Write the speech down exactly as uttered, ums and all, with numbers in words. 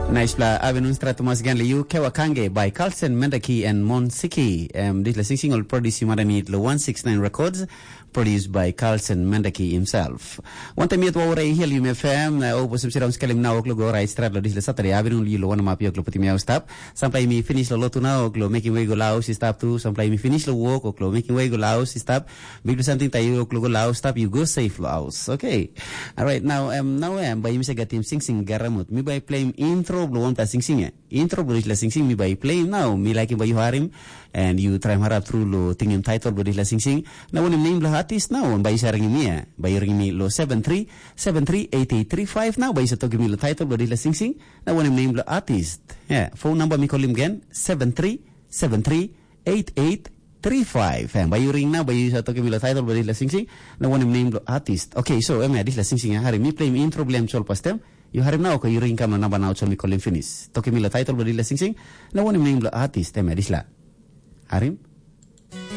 Naispela avenun strat tumas gen le yu kewa kange by Carlsen Mendaki and Mon Siki. Um, dispela singsing ol produce yu mada mi lo one six nine Records, produced by Carlsen Mendaki himself. Wantaim yet waura i hiel yumi F M, na o bosim sirau skelim na oklo go rait strat lo dispela Saturday avenun yu lo wana mapi oklo putim yau stap. Sampai mi finish lo lotu na oklo making way go laus i stap tu. Sampai mi finish lo work oklo making way go laus i stap. Big something tai yu oklo go laus stap yu go safe lo aus. Okay. Alright, now um, now um, by mi se gatim singsing garamut. Mi by play intro lo one ta singsing eh. Intro blo dispela singsing mi bai play now. Mi laikim bai yu harim and yu traim harap tru lo tingim title blo dispela singsing. Na wanem name blo artist now bai yu sa ringim mi eh. Bai yu ringim mi lo seven three seven three eight eight three five now bai yu sa tokim mi lo title blo dispela singsing. Na wanem name blo artist. Yeah, phone number mi kolim gen seven three seven three eight eight three five. Eh, bai yu ring now bai yu sa tokim mi lo title blo dispela singsing. Na wanem name blo artist. Okay, so em ya dispela singsing ya harim mi play mi intro blo em sol pastem. Yu harim nau ko yu ring kam na namba nau so mi kolim finis. Tokim mi lo title blo dispela singsing, na wanem name blo artist em ya dispela. Harim?